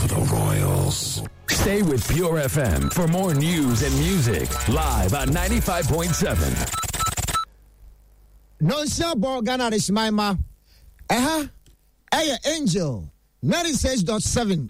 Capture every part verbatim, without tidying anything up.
For the Royals. Stay with Pure F M for more news and music live on ninety-five point seven. Nonsia bɔ, Ghana adehyeman ma ɛha ɛyɛ Angel ninety-six point seven.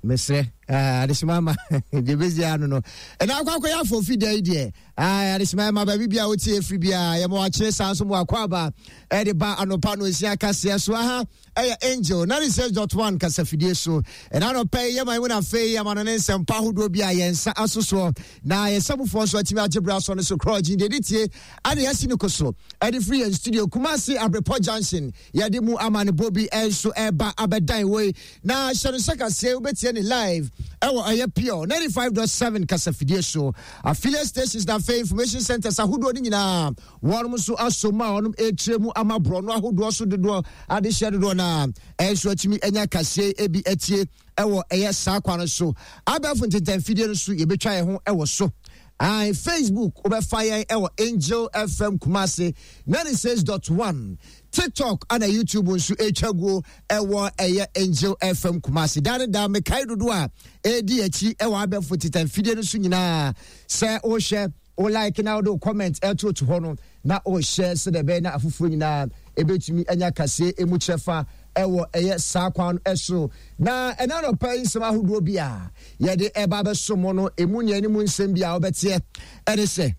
Mesrɛ adehyeman ma deɛ bɛsi ano no ɛna akɔ akɔyɛ afɔfi da yi deɛ, adehyeman ma baabi bia wotie ɛfiri biaa, yɛma wakyerɛ saa nso ma wakɔ aba ɛde ba anɔpa no nsia kaseɛ so. Aha ɛyɛ Angel ninety-six point one kasafidie so. Ɛna anɔpa yi yɛma mu no, afei yɛma no ne nsɛmpa ahodoɔ bi a yɛn nsa aso soɔ na yɛsɛmofoɔ nso atumi agye berɛ asɔ no so korɔgye deɛ de tie ane yɛasi no ko so ɛde firi yɛn studio Kumase Abrepɔ Junction. Yɛde mu amanebɔ bi nso ɛba abɛdan wei na hyɛ no sɛ kaseɛ wobɛtie ne live ɛwɔ ɛyɛ Pure ninety-five point seven kasafidie so, affiliate stations na afei information centers ahodoɔ no nyinaa wɔnom nso aso mu a wɔnom ɛtire mu ama borɔno ahodoɔ so dodoɔ adehyɛ dodoɔ no a ɛnso atumi anya kaseɛ ebi atie ɛwɔ ɛyɛ saa kwan no so. Abɛɛfo ntentanfidie no so yɛbɛtwa yɛn ho ɛwɔ so. Aye, Facebook wobɛfa yɛn ɛwɔ Angel F M Kumase ninety-six point one, TikTok ana YouTube nso ɛtwa guo ɛwɔ ɛyɛ Angel F M Kumase. Daa ne daa mekae dodoɔ a ɛdi akyi ɛwɔ abɛɛfo ntentanfidie no so nyinaa sɛ wohwɛ, wo like na wode wo comment ɛto to hɔ no na wohyɛ sɛdeɛ ɛbɛyɛ na afoforɔ nyinaa ɛbɛtumi anya kaseɛ ɛmu kyerɛfa ɛwɔ ɛyɛ saa kwan no ɛso. Na ɛna nɔpɛ yi nsɛm ahodoɔ bi a yɛde ɛba bɛso mo no, ɛmu nea anim nsɛm bi a wobɛteɛ ɛne sɛ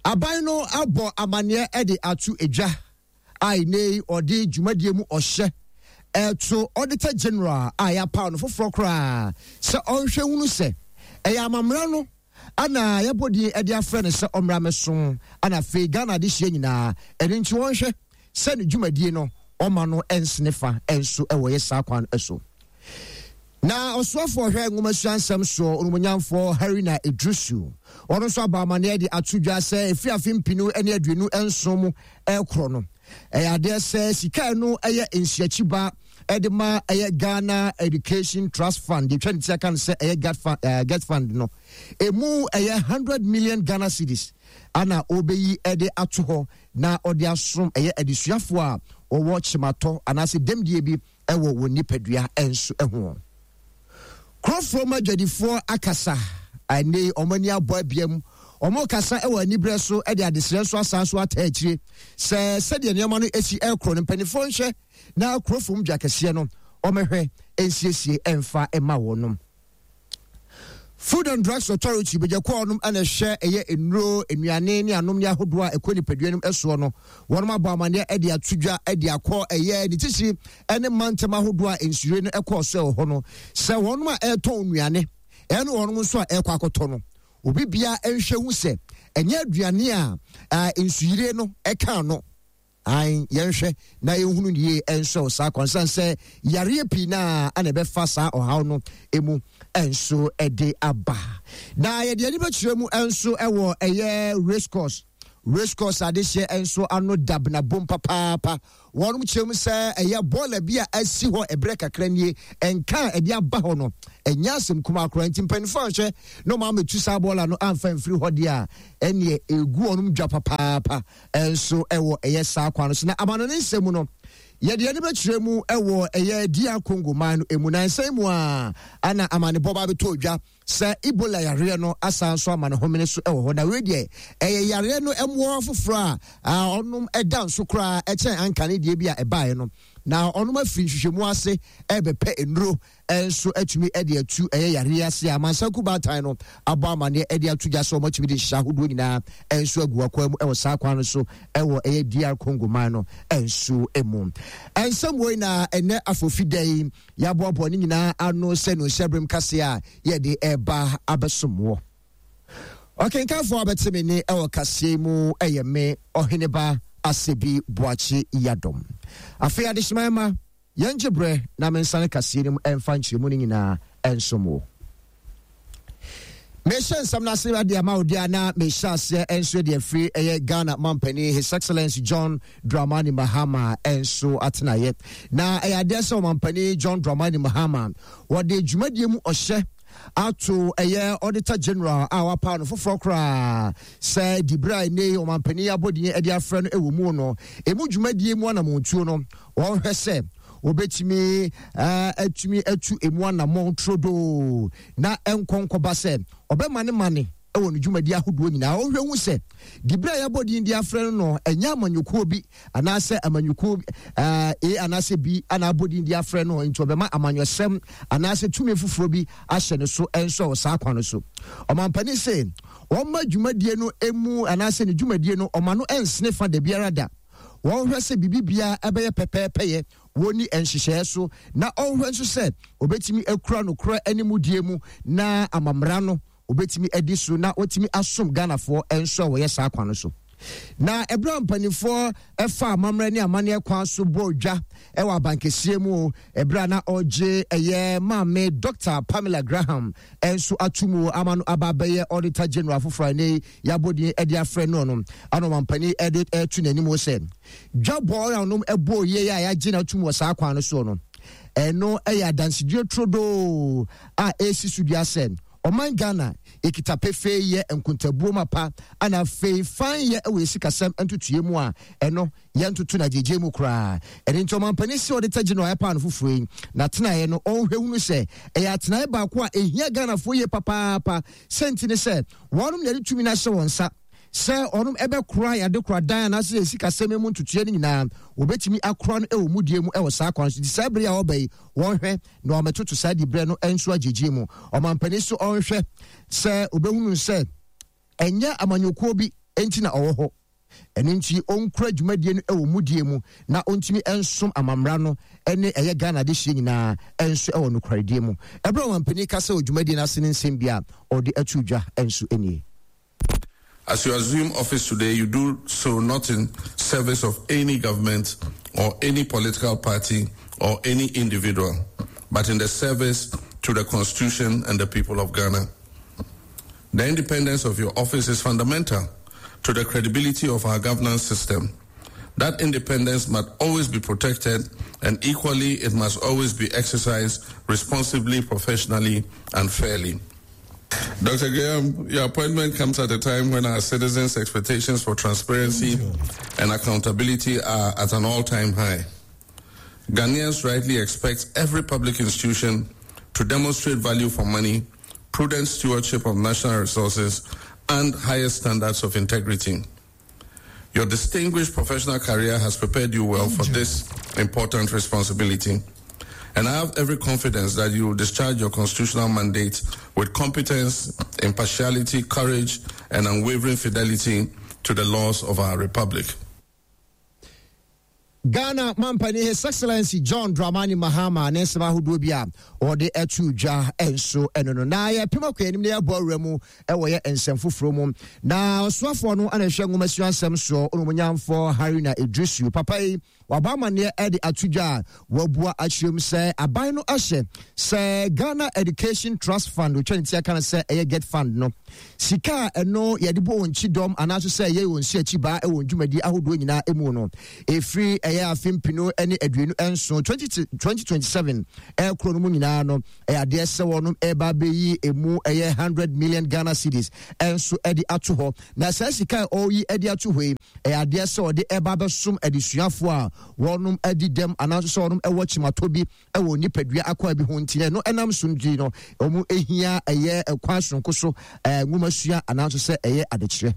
aban no abɔ amanneɛ ɛde ato edwa a ɛnɛ yi ɔde dwumadie mu ɔhyɛ ɛto Auditor General a yɛapaw no foforɔ koraa sɛ ɔnhwɛ hunu sɛ ɛyɛ amammerɛ no ana yɛbɔ din ɛde afrɛ no sɛ ɔmmra mɛsom ana afei Ghana de hyia nyinaa. Ɛno nti wɔnhwɛ sɛ ne dwumadie no ɔma no ɛnsene fa ɛnso ɛwɔ yɛ saa kwan so. Na ɔsoafoɔ hwɛ nwomasua nsɛm soɔ, onumonyamfoɔ Haruna Iddrisu, ɔno nso aba amanneɛ de ato dwa sɛ ɛfiri afe mpinu ne aduonu nson mu ɛkorɔ no, ɛyɛ adeɛ sɛ sika no ɛyɛ nsuakyiba ɛde ma ɛyɛ Ghana Education Trust Fund, deɛ twa ne ti aka no sɛ ɛyɛ GET Fund, uh, GET Fund no emu ɛyɛ hundred million Ghana cedis ana ɔbɛyi ɛde ato hɔ na ɔde asom ɛyɛ adesuafoɔ a wɔwɔ kyematɔ anaasɛ dɛmdie bi ɛwɔ wɔn nipadua ɛnso ɛho. Kurɔfoɔ mu adwadifoɔ akasa ɛne wɔn ani abɔ abiam, wɔn kasa ɛwɔ aniberɛ so ɛde adesrɛ nso asan so ata akyire sɛ sɛdeɛ nneɛma no esi ɛkorɔ no, mpanimfoɔ nhwɛ na kurɔfoɔ mu dwa kɛseɛ no wɔmɛhwɛ nsiesie ɛmfa ɛma wɔn. Food and Drugs Authority bɛgya nom ɛna ɛhwɛ ɛyɛ nnuro, nnuane ne anom ne ahodoɔ a ɛkɔ nipadua no soɔ no, wɔn abɔ amanneɛ ɛde ato dwa ɛde akɔ ɛyɛ ne titiri ɛne mantam ahodoɔ a nsure no ɛkɔɔ so ɛwɔ hɔ no sɛ wɔn a ɛretɔn nnuane ɛne wɔn nso a ɛrekɔ akɔtɔ no, obi bia nhwɛ hu sɛ ɛnyɛ aduane a nsuyire no ɛka no. Ayi, yɛnhwɛ na yɛnhunu ne yie ɛnso saa kwansan sɛ yareɛ pii naa ana ɛbɛfa saa ɔhaw no emu ɛnso ɛde aba. Na yɛde ani bɛkyerɛ mu ɛnso ɛwɔ ɛyɛ Race Course. Race Course adehyeɛ ɛnso ano dabenabom papaapa. Wɔn kyerɛ mu sɛ ɛyɛ bɔɔla bi a asi hɔ ɛberɛ kakra nie, ɛnka a ɛde aba hɔ no ɛnyɛ asɛm kuma akora, nti mpanimfoɔ ahwɛ na ɔmo amɛtu saa bɔɔla no amfa mfiri hɔ deɛ a ɛneɛ egu wɔn dwa papaapa ɛnso ɛwɔ ɛyɛ saa kwan no so. Na amano ne nsɛm mu no, yɛde ani bɛkyerɛ mu ɛwɔ ɛyɛ D R Congo man no emu nansan mu a ana amanebɔ ba bɛtɔ dwa sɛ Ebola yareɛ no asan so ama ne homene so ɛwɔ hɔ. Na wei deɛ ɛyɛ yareɛ no ɛmoa foforɔ a ɔnom ɛda nso koraa ɛkyɛn anka ne deɛ bi a ɛbaeɛ no, na ɔnom afiri nhwehwɛmu ase ɛbɛpɛ nnuro ɛnso atumi ɛde atu ɛyɛ yareɛ ase a amansanku baatan no abɔ amanneɛ ɛde ato gya sɛ ɔmatumi de nhyehyɛ ahodoɔ nyinaa ɛnso agu akwan mu ɛwɔ saa kwan no so ɛwɔ ɛyɛ D R Congo man no ɛnso mu. Ɛnsɛm wei na ɛnɛ afofi da yi yɛaboaboa ne nyinaa ano sɛ no nhyɛberem kase a yɛde ɛba abɛsom wɔ. Ɔkenkanfoɔ a bɛte me ne ɛwɔ kaseɛ mu ɛyɛ me Ɔheneba Asɛbi Boakye Yadom. Afei adehyeman ma yɛngye berɛ na mensane kaseɛ no mu ɛmfa nkyerɛmu no nyinaa ɛnsom wo. Mehyɛ nsɛm no ase ade ama wo deɛ na mehyɛ aseɛ ɛnso de afiri ɛyɛ Ghana mampanin, His Excellency John Dramani Mahama ɛnso atenaeɛ. Na ɛyɛ adeɛ sɛ ɔmampanin John Dramani Mahama wɔde dwumadie mu ɔhyɛ ato ɛyɛ Auditor General a wapa no foforɔ koraa sɛ dibere a ɛnɛ ɔmampanin abɔdin de afrɛ no ɛwɔ mu no, ɛmu dwumadie mu anamontuo no, wɔnhwɛ sɛ Wɔbɛtumi atumi atu emu anammɔn turodoo na ɛnkɔnkɔba sɛ ɔbɛma ne mane ɛwɔ ne dwumadi ahodoɔ nyinaa. Ɔhwɛ hu sɛ dibere a yɛabɔ din de afrɛ no no ɛnyɛ amanyɔkuo bi anaasɛ amanyɔkuo A anaasɛ B ana abɔ din de afrɛ no, nti ɔbɛma amanyɔsɛm anaasɛ tumi foforɔ bi ahyɛ ne so nso wɔ saa kwan no so. Ɔmampanin sɛ ɔma dwumadie no emu anaasɛ ne dwumadie no ɔma no ɛnsene fa da biara da. Wɔnhwɛ sɛ biribi biara ɛbɛyɛ pɛpɛɛpɛyɛ wɔni nhyehyɛeɛ so, na ɔnhwɛ nso sɛ obɛtumi akura nokorɛ animudie mu na amamra no obɛtumi adi so na wɔtumi asom Ghanafoɔ nso a wɔyɛ saa kwan no so. Na ɛberɛ a mpanimfoɔ ɛfa amammerɛ ne amanneɛ kwan so bɔ dwa ɛwɔ abankɛseɛ mu, ɛberɛ a na ɔgye ɛyɛ maame Doctor Pamela Graham nso ato mu ama no aba abɛyɛ Auditor General foforɔ a ne yɛabɔ din de afrɛ no no ano, mampanin ɛde ɛto n'anim sɛ dwabɔ a ɔnom ɛbɔ yie a yɛagye no ato mu wɔ saa kwan no soɔ no, ɛno ɛyɛ adansedie turodoo a ɛsi so dua sɛ ɔman Ghana ekita pefee yɛ nkontabuo mapa ana afei fan yɛ ɛwɔ esikasɛm ntotoe mu a ɛno yɛntoto na gyegye mu koraa. Ɛne nti ɔmampanin si ɔde tagye no a ɛpaa no foforɔ yi na tenaeɛ no, ɔnhwɛ hunu sɛ ɛyɛ atenaeɛ baako a ehia Ghanafoɔ yie papaapa. Sɛnti ne sɛ wɔnom na yɛde tumi no ahyɛ wɔn nsa sɛ ɔnom ɛbɛkora yɛade kora dan anaasɛ esikasɛm mu ntotoeɛ no nyinaa, wɔbɛtumi akora no ɛwɔ mudie mu ɛwɔ saa kwan so. Nti saa bere a ɔba yi, wɔnhwɛ na wɔamɛtoto saa diberɛ no nso agyegye mu. Ɔmampanin so ɔnhwɛ sɛ obɛhunu sɛ ɛnyɛ amanyɔkuo bi nti na ɔwɔ hɔ, ɛno nti ɔnkura dwumadie no ɛwɔ mudie mu na ɔntumi nsom amamra no ɛne ɛyɛ Ghana de hyia nyinaa ɛnso ɛwɔ nokwaredie mu. Ɛberɛ a ɔmampanin kasa wɔ dwumadie no ase ne nsɛm bi a ɔde ato dwa nso nie. As you assume office today, you do so not in service of any government or any political party or any individual, but in the service to the Constitution and the people of Ghana. The independence of your office is fundamental to the credibility of our governance system. That independence must always be protected, and equally, it must always be exercised responsibly, professionally, and fairly. Doctor Graham, your appointment comes at a time when our citizens' expectations for transparency and accountability are at an all-time high. Ghanaians rightly expect every public institution to demonstrate value for money, prudent stewardship of national resources, and highest standards of integrity. Your distinguished professional career has prepared you well for this important responsibility. And I have every confidence that you will discharge your constitutional mandate with competence, impartiality, courage, and unwavering fidelity to the laws of our republic. Ghana mampani His Excellency John Dramani Mahama ne nsɛm ahodoɔ bi a ɔde ɛto dwa nso ɛno no. Na yɛpem akɔ anim na yɛabɔ awura mu ɛwɔ yɛ nsɛm foforɔ mu, na ɔsoafoɔ no ana ɛhwɛ nwomasua nsɛm soɔ, ɔnomonyamfoɔ Haruna Idrisu papa yi waba amanneɛ ɛde ato dwa a wabua akyerɛ mu sɛ aban no ahyɛ sɛ Ghana Education Trust Fund, otwa ne ti aka no sɛ ɛyɛ GET Fund no, sika a ɛno yɛde bɔ wɔn kyi dɔm anaasɛ sɛ ɛyɛ wɔn si akyi baa ɛwɔ dwumadi ahodoɔ nyinaa mu no, ɛfiri ɛyɛ afe mpinu ne aduonu nson twenty twenty seven ɛkoro no mu nyinaa no, ɛyɛ adeɛ sɛ wɔn ɛba abɛyi emu ɛyɛ hundred million Ghana cedis ɛnso ɛde ato hɔ. Na saa sika a ɔreyi ɛde ato hɔ yi, ɛyɛ adeɛ sɛ ɔde ɛba abɛsom adesuafoɔ a wɔnom adi dɛm anaasɛ sɛ wɔnom ɛwɔ kyimatɔ bi ɛwɔ nipadua akɔ bi ho, nti ɛno ɛnam so nti no wɔn ehia ɛyɛ ɛkwan sononko so ɛɛ nwomasua anaasɛ sɛ ɛyɛ adekyerɛ.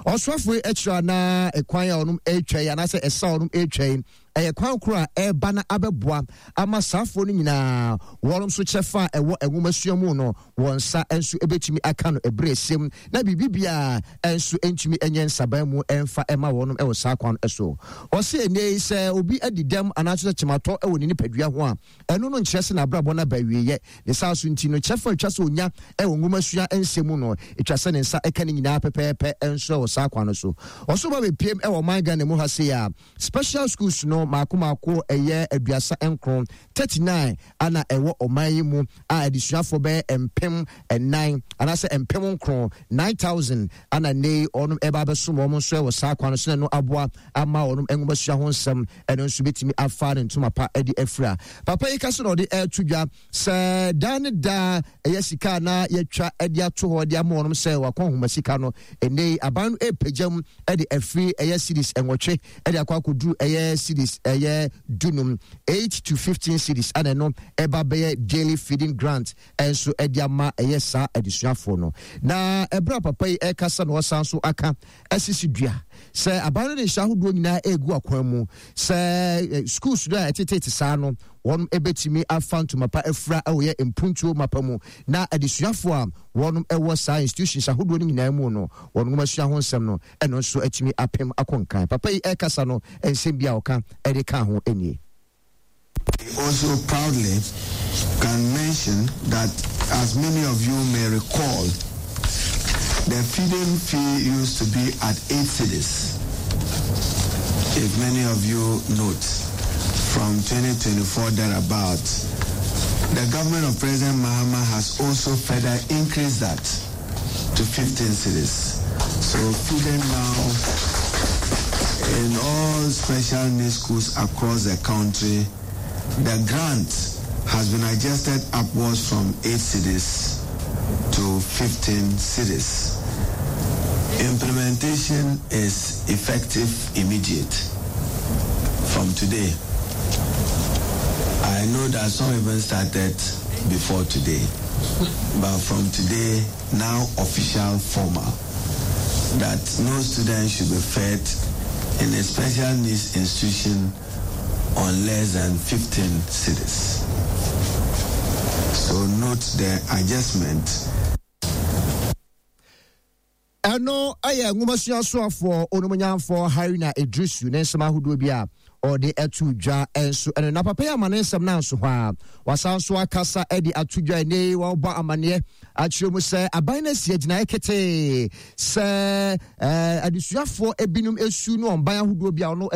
Ɔsoafo yi akyerɛ anaa ɛkwan a ɔnom ɛretwa yi anaasɛ ɛsa a ɔnom ɛretwa yi ɛyɛ kwan koro a ɛreba na abɛboa ama saafoɔ no nyinaa wɔn nso kyɛfa a ɛwɔ nwomasua mu no wɔn nsa nso ɛbɛtumi aka no ɛberɛ esiem na biribi biara nso ntumi nyɛ nsaban mu ɛmfa ɛma wɔn ɛwɔ saa kwan so. Ɔsɛ ɛnɛ yi sɛ obi adi dɛm anaasɛ kyematɔ ɛwɔ ne nipadua ho a, ɛno no nkyerɛ sɛ n'abrabɔ no aba awieeɛ. Ne saa so nti no, kyɛfa atwa sɛ onya ɛwɔ nwomasua nsɛm mu no, ɛtwa sɛ ne nsa ɛka ne nyinaa pɛpɛɛpɛ nso ɛwɔ saa kwan no so. Ɔso ba bɛpiem ɛwɔ ɔman Ghana mu ha sei a, special schools no maako maako ɛyɛ aduasa nkron, thirty nine, ana ɛwɔ ɔman yi mu a adesuafoɔ bɛyɛ mpem ɛnan anaasɛ mpem nkron, nine thousand, ana ne ɔnom ɛba abɛsom wɔn nso ɛwɔ saa kwan no so na ɛno aboa ama wɔn nwomasua ho nsɛm ɛno nso bɛtumi afa ne ntoma pa ɛde afira. Papa yi ka so na ɔde ɛɛto dwa sɛ daa ne daa ɛyɛ sika na yɛtwa ɛde ato hɔ de ama wɔn sɛ wakɔ nhoma sika no, ɛnɛ yi aban no ɛrepagya mu ɛde afiri ɛyɛ cedis nwɔtwe ɛde akɔ akɔduru ɛyɛ cedis Cedis ɛyɛ dunum, eight to fifteen cedis, ɛna ɛno ɛba bɛyɛ daily feeding grant ɛnso ɛde ama ɛyɛ saa adesuafoɔ no. Na ɛberɛ a papa yi ɛkasa na ɔsan so aka ɛsisi dua sɛ aban no de nhyɛ ahodoɔ nyinaa ɛregu akwan mu sɛ schools no a ɛtetete saa no, wɔn ɛbɛtumi afa ntoma pa afura ɛwɔ yɛ mpuntuo mapa mu, na adesuafoɔ a wɔn ɛwɔ saa institutions ahodoɔ no nyinaa mu no, wɔn nwomasua ho nsɛm no ɛno nso atumi apem akɔ nkan. Papa yi ɛrekasa no, nsɛm bi a ɔka ɛde ka ho nie. Also proudly can mention that, as many of you may recall, the feeding fee used to be at eight cedis. If many of you note, from twenty twenty-four thereabouts, the government of President Mahama has also further increased that to fifteen cedis. So feeding now in all special needs schools across the country, the grant has been adjusted upwards from eight cedis to fifteen cedis. Implementation is effective immediate from today. I know that some even started before today, but from today, now official, formal, that no student should be fed in a special needs institution on less than fifteen cedis. So note the adjustment. Ɛno ɛyɛ nwomasua soafoɔ Onumonyamfoɔ Haruna Idrisu ne nsɛm ahodoɔ bi a ɔde ɛto dwa nso ɛno. Na papa yi ama ne nsɛm no nso hɔ a, wasan so akasa de ato dwa ɛne wɔbɔ amanneɛ akyerɛ mu sɛ aban no asi agyinaeɛ ketee sɛ adesuafoɔ ebinom esu ne ɔmban ahodoɔ bi a ɔno